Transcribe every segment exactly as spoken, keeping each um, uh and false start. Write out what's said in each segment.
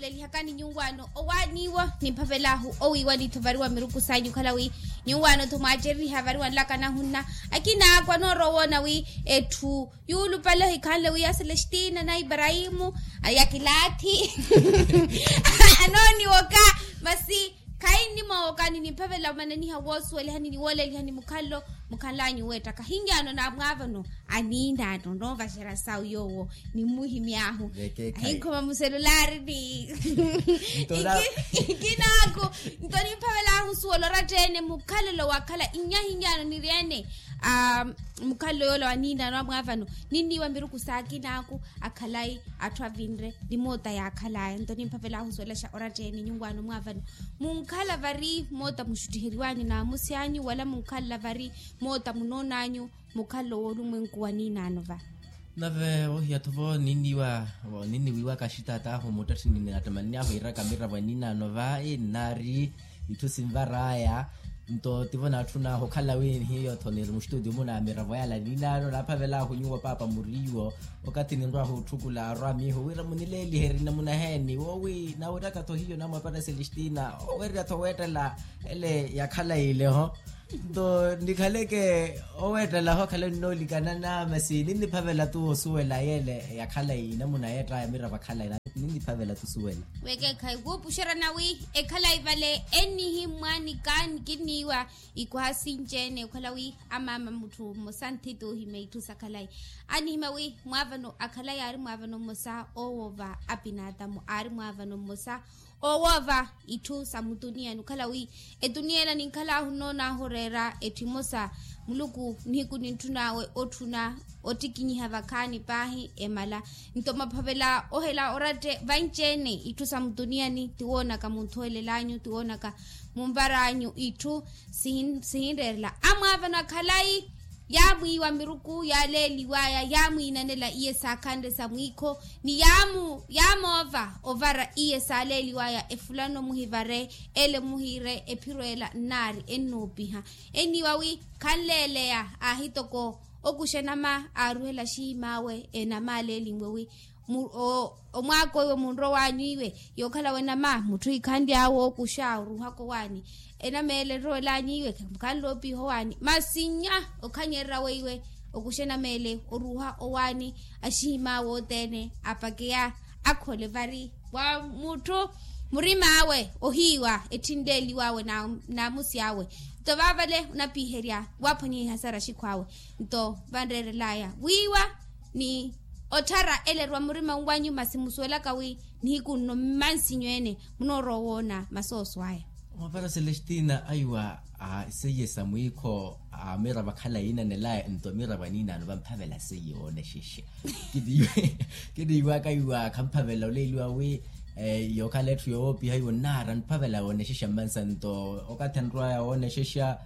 Lihakani nyuwaano owaaniiwo nimphavelaahu owiiwani-tho vari wa miruku sanyu okhala wi nyuwaano-tho mwaacereriha vari wa nlaka nahunna. Akina akwa noorowa owoona wi etthu yuulupale ohikhanle wi ya selestina na iparahimu, ya kilaathi anooniwoka. Masi khayi nnimoowoka ni nimphavela omananiha woosuwelihani ni woolelihani mukhallo mukhanlanyu weettaka ahinyaano na mwaavano aniinaano noovaxera sawu yoowo. Ni mmuhimy'ahu ahinkhoma muselularini. Ikinaaku nto nimphavelaahu nsuwela oratta-ene mukhalelo wakhala inyahinyaano niri-ene. Mukhalelo yoola wa niinaano amwaavano ninniiwa miruku s'akinaaku akhalayi atthu avinre ni moota yaakhalaya nto nimphavelaahu nsuwelaxa oratta-ene nyuwaano mwaavano munkhala vari moota muxuttiheriwanyu naamusi anyu wala munkhala vari moota munoon'anyu mukhalelo w'olumwenku wa niinaano va. Nave wohiya-tho vo ninniiwa ninniwiiwaka axitaat'ahu muttatthini ni attamanini ahu iiraka miravo ya niinaano va innaari itthu sinvar'aya. Nto tivo naatthun'ahu okhala wi hiyo-tho niri muxituutiyo muna ya miravo yala niinaano naaphavel'ahu nyuwo paapa muriiwo. Okathi ninrw'ahu otthukula arwa miiho wira munileeliherye namuna heeni woowi nawiraka-tho hiyo namwapara selestina oweererya-tho weettela ele yakhala ile ho. Nto nikhaleke oweettela ho akhala ninnoolikanana masi ninniphavela-tu osuwela yeele yakhala inamuna yeett'aya miravo akhala ina ninniphavela-tu osuwela. Wekeekhayi wuupuxerya nawi ekhalayi vale ennihimmwa ni kaani kinniiwa ikwaha sinci-ene okhala wi amaama mutthu mmosa anthiti ohimya itthu sa khalayi. Anihimya wi mwaavano akhalayi aari mwaavano mmosa owoova apinaatamu aari mwaavano mmosa owoova itthu sa mutuniyani okhala wi etuniya ela ninkhal'ahu nnoon'ahu oreera etthu emosa muluku nihiku nintthun'awe otthuna ottikinyiha vakhaani paahi emala. Nto maphavela ohela oratte vanci-ene itthu sa mutuniyani tiwoonaka munthuwelel'anyu tiwoonaka munvar'anyu itthu sihinreerela amwaavano akhalayi. Yaamwiiwa miruku yaaleeliw'aya yaamwiinanela iye saakhanre sa mwiikho ni yaamoova ovara iye saaleeliw'aya efulano muhivare ele muhiire ephiro ela nnaari ennoopiha. Enniiwa wi khanleeleya aahi toko okuxa enama aaruhela axihim'awe enama aleelinwe wi omwaak'oiwe munrowanyu iwe yookhala wenama mutthu iikhanly'awe okuxa oruuhaka owaani enama ele enrowelanyu iwe khanloopiha owaani masi nnya okhanyererya weiwe okuxa enama ele oruuha owaani axihim'awe othene apakeya akhole vari wa mutthu murim'awe ohiiwa etthinleeliw'awe naamusi awe. Nto vaavale onapiherya waaphwanyiha ihasara axikhw'awe nto vanreerel'aya wiiwa ni otthara ele erwa murima wanyu masi musuwelaka wi nihiku nno mmansinyu ene munoorowa owoona masooso aya. Mwapara selestina aiwa seiye sa mwiikho amiravo akhalayi inanelaya nto amiravo aniinaano vamphavela seiye woonexexa. Kiniiwaka iwa khamphavela oleeliwa wi yookhala etthu yoopiha iwo nnaara nphavela woonexexa mmansa nto okathi anrwaya woonexexa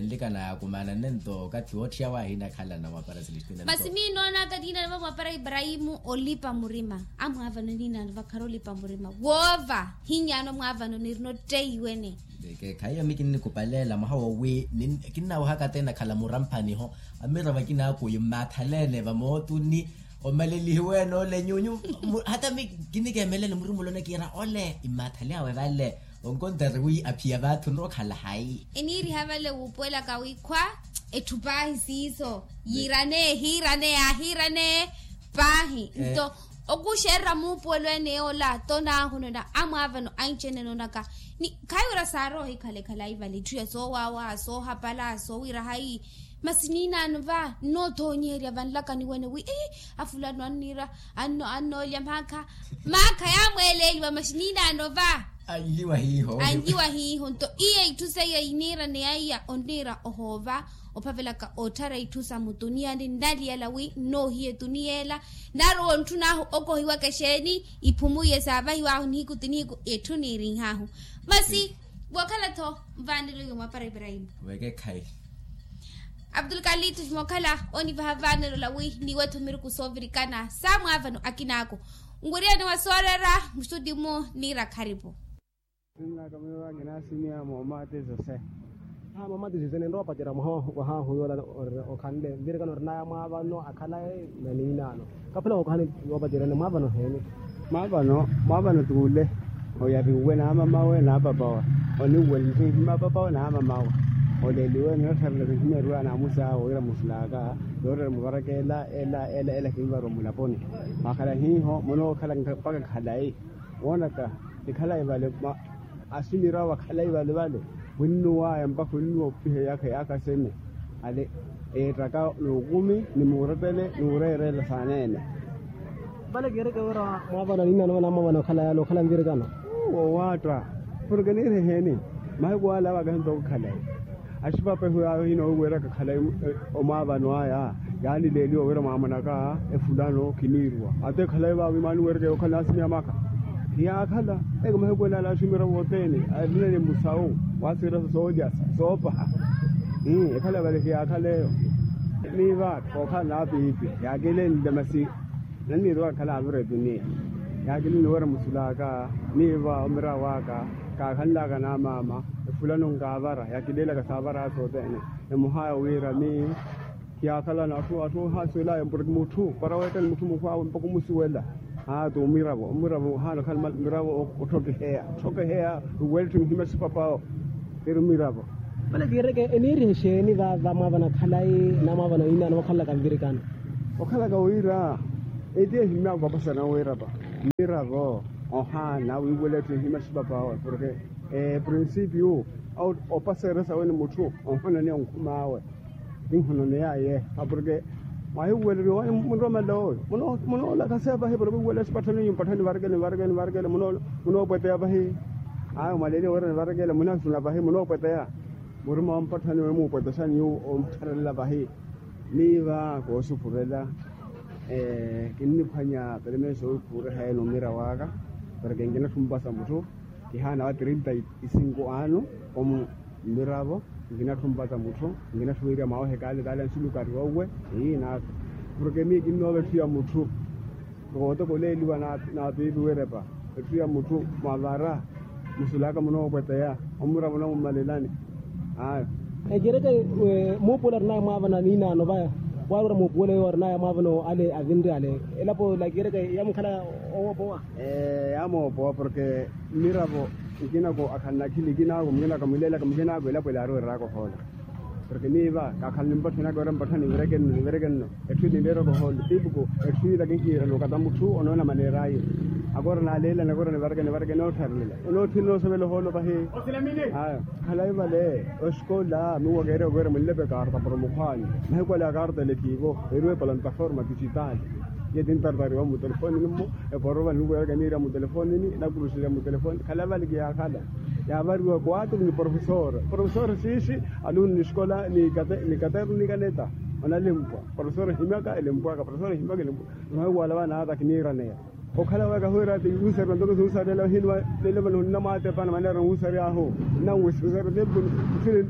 nlikana yaakumaana nento okathi wootthiy'awe ahinakhalana mwapara selestina. Masi miinoonaka niinaano va mwapara iparahimu olipa murima amwaavano niinaano vakhara olipa murima woova hinyaano mwaavano nirina otteiwene. Ekeekhayi ami kinnikupaleela mwaha woowi kinnawohaka athene akhala muramphaniho amiravo akinaakuyu mmaathaleene vamootuni omalelihiweene ole nyunyu. Hata ami kinnikeemelela murimulo nakiira ole immaathale awe vale onkontari wi aphiya vaathu nrookhala hayi. Eniiriha vale wuupuwelaka wi khwa etthu paahi siiso yiirane hiirane yaahiirane paahi nto okuxererya muupuwelo ene yoola tonaahunena amwaavano anci ene enoonaka ni khayi wira saarowa ohikhala ekhalayi vale etthu ya soowaawa soohapala soowira hayi. Masi niinaano va nnoothonyiherya vanlakani wene wi ii afulano anniira annoolya maakha maakha yaamweeleeliwa masi niinaano va anliwa hiiho nto iye itthu seiyo iniirane yaiya onniira ohoova ophavelaka otthara itthu sa mutuniyani nnaliyela wi nnoohiya etuniya ela narowa ontthun'ahu okohiwaka exeeni iphumu iye saavahiw'ahu nihiku ti nihiku etthu niirinh'ahu. Masi wookhala-tho mvaanelo iwe mwapara iparahimu. Weekekhayi. Abdulkalitu mookhala onivaha vaanelo lawi niiwe-tho miruku soovirikana saamwaavano akinaaku nwiriyani wa sooreera mustutimu niira kharipu. Sinnaka miyo vakinasimiya moomati zose. Aa moomati zose ninrowa opacerya mwaha wahaahu yoola okhanle nvirikana orinaya mwaavano akhalayi na niinaano. Kaphela wookohani woopaceryani mwaavano heeni. Mwaavano mwaavano tuule. Oyariwe n'amamawe n'apapawe. Oniwelerihe mmapapawe n'amamawe. Oleliwe ninottharela nihimeriwa n'amusaawe wira musulaka. Yoorera muvarakela ela ela ela kinvariwa mulaponi. Mwakhala hiiho munookhala mpaka khalayi. Woonaka nikhalayi vale. Asimira wa khalayi vale vale. Winnuwaya mpakha winnuwa opiha eyakha eyakha sene. Ale eettaka n'ukumi ni muurepele n'ureerela saaneene. Vale kiireke wira mwaavano niinano vale amwaavano okhala yaale okhala nvirikano. Wowaatta. Porke niiri eheeni mahiku ale avaka hentoko khalayi. Axipapehu yaayo hinoowiraka khalayi. Omwaavano aya yaanileeliwa wira mwaamonaka efulano khiniiriwa. Ate khalayi vaavi maaniwereke okhala naasimiya maka. Hiyaakhala eke mahiku elaala axumira vootene. Arinene musawu waasiira soolyasa soopaha. Ekhala vale hiyaakhala eyo. Niiva kookhala naapiipi yaakilenle masi. Nanniiruwa akhala avirepi niya. Yaakilini wira musulaka niiva omirawaka. Kaakhanlaka n'amaama efulano nkaavara yaakileelaka saavara sootene. Emuhaya wira mi kiyaakhala n'atthu atthu ohasuwelaya mpuraki mutthu para weettani mutthu mukhwaawe mpakha omusuwela. Aa t'umiravo omiravo ohaana okhala miravo otthokeheya otthokeheya. Uweletthe muhimya sipapawo. Iri omiravo. Vale kiireke eniirihe exeeni vaava mwaavana khalayi n'amwaavana niinano vakhalelaka nvirikano. Okhalaka wira eti ehimyaka opasana wirapa mmiravo. Ohaana wiiweletthe ehimya sipapawe porke prinsipio opaserya sawe ni mutthu onhonaneya onkhum'awe. Ninhonaneya aye aporke mwahiweleriwa wani munromela oyo. Munoolakaseya pahi porke wiweleriwa sipatthani nyu mpatthani nivarekele nivarekele nivarekele. Munoopweteya pahi. Ayo mwaleeliwa wira nivarekele munasuna pahi munoopweteya. Murima wa mpatthani wemuupwetesha nyu omuttharalela pahi. Niiva koosupurela kinniphwanya permeso owikhuriha ene omira waka. Porke nkinatthu mpasa mutthu kihaana wa trinta isinko ano omu mmiravo. Nkinatthu mpasa mutthu nkinatthu wiiriya mwawe hekaale kaale ansulukari wauwe. Ii naaka porke miyo kinnoova etthu ya mutthu. Kootokoleeliwa n'apiipi wirepa etthu ya mutthu mwavara musulaka munoopweteya omura munoomummalelani. Ayo. Ekiireke muupuwelo arinaya mwaavana niinaano vaya waarwera muupuwelo yowo arinaya mwaavana ale avinri ale elapo la kiireke yamukhala owoopowa. Yamoopowa porke mmiravo nkinako akhalana akhili nkinako mukinako amileelaka mukinako elapo elaarwereraka ohoola. Porke miiva kaakhala nimpatthani aka wira mpatthani nivireke nno nivireke nno. Etthu ila niiraka ohoolo tipuku etthu ila kinhiirela okata mutthu onoona maneera aye. Akoora naaleelana akoora nivareke nivareke noottharelela onootthina onosovela ohoolo pahi. Aya khalayi vale. Osikola miwakeerya okeerya munlepe kaarta para mukhwaani mahiku ale akaarta ele kiivo. Eriwe plataforma digital iye tintartariwa mutelefonini mmo. Eporova niwiyaka niirya mutelefonini nakuruxerya mutelefonini khalayi vale kiyaakhala. Yaavariwa kuwaturu ni profesor profesor siishi alunu ni esikola ni katernu ni kaneta. Onalempwa profesor ehimyaka elempwaka profesor ehimyaka elempwaka. Mahiku ala vanaata kiniiraneya okhala waka hwira ati wuusariwa ntoko suusarela hini. Lelo vano nnamwaatepana maneera nwuusary'ahu nnanwuusary'ahu tempu. Nsile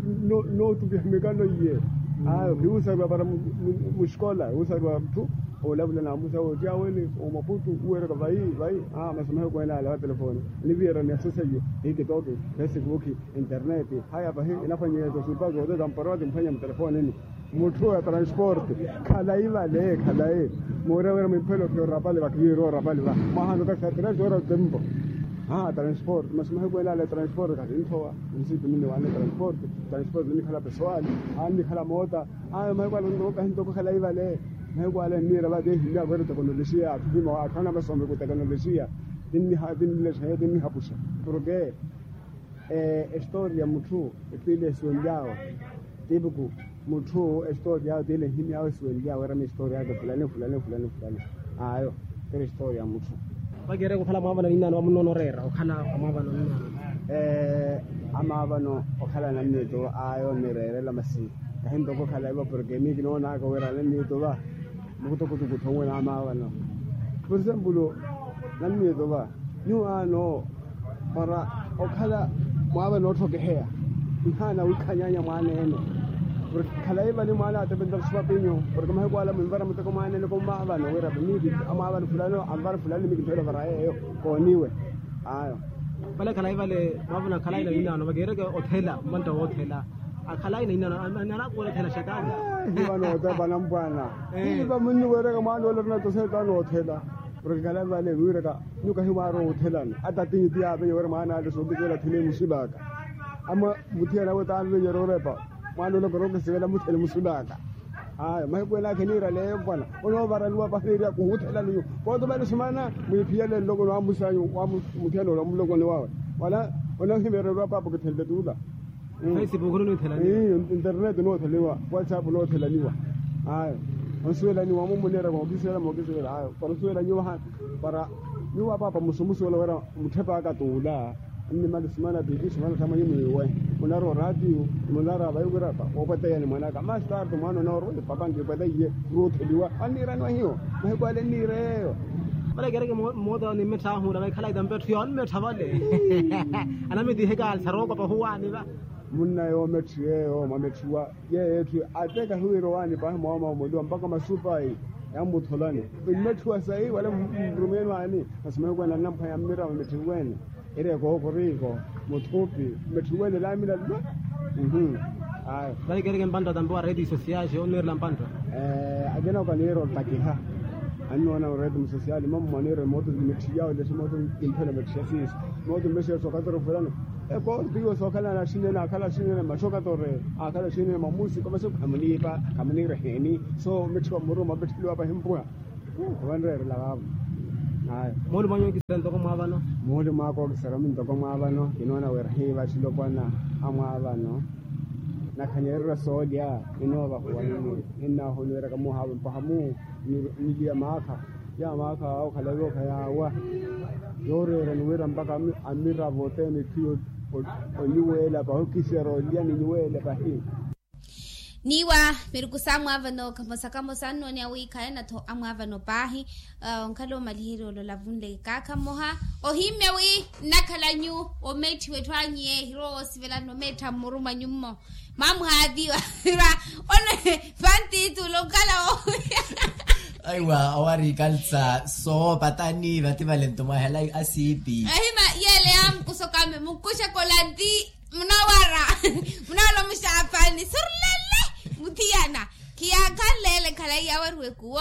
nootupiha mikano iye. Ayo hiwuusariwa para muxikola wuusariwa muthu. Oolavula namusa wootiya wene omaputu uweraka vayi vayi. Masomo hekwene ale wa telefoni. Niviyerani asosa iyo hikitoki, facebook, internet. Haya pahi inaphwanyeya eto supa zote zamporowa zimphwanya mutelefonini. Mutthu ya transporte khalayi vale khalayi. Muurya wira mwiphelo khiyo rapali va khiviiro rapali va mwahanza takisatira zora tempo. Aa transporte masi mahiku elaala transporte khatinthowa. Nsitumini wane transporte transporte nikhala pesoali. Aa nikhala moota. Aa mahiku ala ntoka hintoko khalayi vale. Mahiku ala nniira vate ehimya vwera tekonolojiya atthu hima atthu anamasomeku tekonolojiya. Tinniha tinnilexa iyo tinnihapuxa. Porke estori ya mutthu etthu ile esuwenlyawe. Tipuku mutthu estori yawe tile nhimyawe esuwenlyawe erama estori yake fulani fulani fulani fulani. Ayo tile estori ya mutthu. Vakiireke okhala mwaavano niinano vamunoona oreera okhala amwaavano niinano. Amaavano okhala nanniituva ayo nireerela masi. Kahi ntoko okhala ivo porke miyo kinoonaka wira nanniituva mukutukutuku tthomwe n'amaavano. Por exemplo nanniituva nyuwo ano para okhala mwaavana otthokeheya. Nhaana wiikhanyaanya mwaana ene. Porke khalayi vale mwaana atepentaka sipapinyu porke mahiku ala mwinvara muteko mwaana ene komaavana wira miipi amwaavana fulani anvara fulani mikinthela ovara yeeyo. Kooniwe. Ayo. Vale khalayi vale mwaavana khalayi na yinaano vakiireke othela mmantta woothela. Akhalayi na yinaano anaakuwela othela xetani. Hiva nootepa nampwana. Hiva munnuwereka mwaana ole orina toseetani oothela. Rokikhala vale wiiraka nyuwo kahimwaari oothelani. Ata tiiti yaavenye wira mwaana ale sookisivela athene musulaka. Ama muthiyana we taavenye roorepa mwaana ole korookisivela muthene musulaka. Aya mahiku ene akheniiraleyo mpwana onoovaraniwa pahi neeriya kuhuuthelani nyuwo. Kootumani sumana mwiiphiyele nloko nwamusanyu wa muthiyana ole omulokoni wawe wala onoohimeereriwa paapa okithenle tuula. Interneti noothelaniwa, whatsapp noothelaniwa. Aya onsuwelaniwa mummuneera mookisivela mookisivela aya para onsuwelaniwa hana para nyuwo apaapa musumusuwela wira mutthepa aka tuula. Nnimali sumana piipi sumana thamwanyi mwiiwe munara oraatiyo munara vayi wira opwateyani mwanaka mastartu mwaana onoorwa epapa nkipwateiye. Ruutheliwa anniiraniwa hiyo mahiku ale nniire yeeyo. Vale kereke moota nimmettha ahuula vaikhala itampethu yoonmettha vale. Anamitiheka alsarookopa ohuwaani va. Munna yoometthiwa yeeyo mwametthiwa yeeyo etthu ate kahiwiira owaani paahi mwawooma omoliwa mpakha masupa yammutholani. Mmetthiwa sayi wala mrumeeni waani masi mahiku ene anamphwanya mmiravo mmetthiweene. Eri ekookoriko muthupi mmetthiweene laamina lulwa. Vale kereke mpantta tampe wa reti sosiyaxe onniirela mpantta. Akina okaniira ottakiha annoona oreti musosiyaali mammo aniira mooto mmetthiya olesi mooto kimphela mmetthiya siiso. Mooto mmetthiya sookatoro fulano ekooto iwo sookhalana axinene akhala axinene mmaxokatore akhala axinene mmamusiko masi khamuniipa khamuniira eheeni. So mmetthiwa mmuruma mmetthiwa pahimpuha. Owanreerela vaavo. Aya mooli mwanyu okisera ntoko mwaavano. Mooli mwaaka okisera mintoko mwaavano kinoona wira hiiva axilopwana amwaavano. Nakhanyererya soolya ninoovahuwa ninni ninnaahoniweryaka muhaavo mpaha muu. Niliya maakha ya maakha awo khalaiwokha yaawa. Yooreerani wira mpakha amiravo othene khiyo oniweela pahi okisera olya ninyuweele pahi. Niiwa miruku sa mwaavano kamosa kamosa annooniya wi khayanatho amwaavano paahi. Onkhala omaliherya olola vunle kaakha mmoha ohimmya wi nnakhala nyu omeetthiwa etthu anyu yeehirowa woosivelana omeettha mmuru mwanyu mmo. Mwamuhaaviwa one pantiitula onkhala wo. Aiwa owari kalsa soopatani vati valento mwahela asiipi. Ahima yeele yaamukusa okame mukuxe kolanti. Munawara munawara omuxaapani surulele. Muthiyana khiyaakhanleele khalayi yaawariwa ekuwo.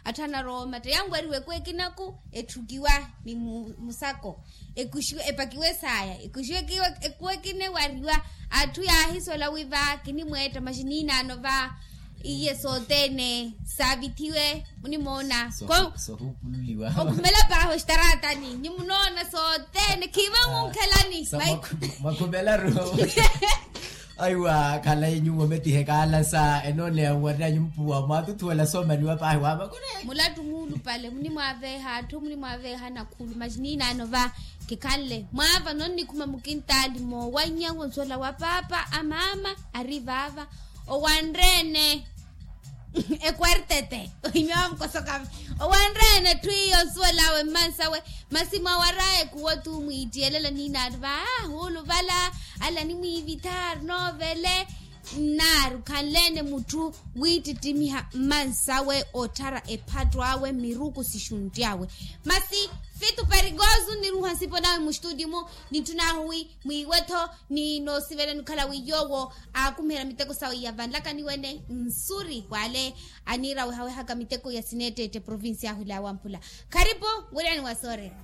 Atthu anarowa omatta yanwariwa ekuwo ekinaku etthukiwa ni musako. Ekuxiwe epakiwe saaya ekuxiwe ekuwo ekinewariwa. Atthu yaahisola wi va kinimweetta maxi niinaano va. Iye sothene saavithiwe munimoona. Sohupululiwa okhumela paahi oxitaratani nimunoona sothene khiiva munkhelani. Makhumela ru. Aiwa khalayi nyuwo metiheka alasa enooneya nwarina nyumpuwa mwaatuthuwela soomaniwa paahi waavakure. Mulattu muulupale munimwaaveeha atthu munimwaaveeha nakhulu maxi niinaano va. Kikhanle mwaavano nnikhuma mukintaali moowanyawo nsuwela wa paapa amaama ari vaava. Owanreene ekwartete ohimya wamukosoka. Owanreene etthu iyo nsuwel'awe mmansawe masi mwawar'aya ekuwo tu mwiittiyelela niinaari va huuluvala. Ala nimwiivitha ari noovele nnaari okhanleene mutthu wiittittimiha mmansawe otthara ephatto awe miruku sixuntti awe. Masi fitu perigoso nniruuha nsipo nawe muxtuuti-mu nitthun'ahu wi mwiiwe-tho ni noosivelani okhala wi yoowo aakumiherya miteko sawe ya vanlakani wene. Nsuri w'ale aniira wehawehaka miteko ya sineetteette provincia ahu ilaawa mphula. Kharipu wiriyani wa soorera.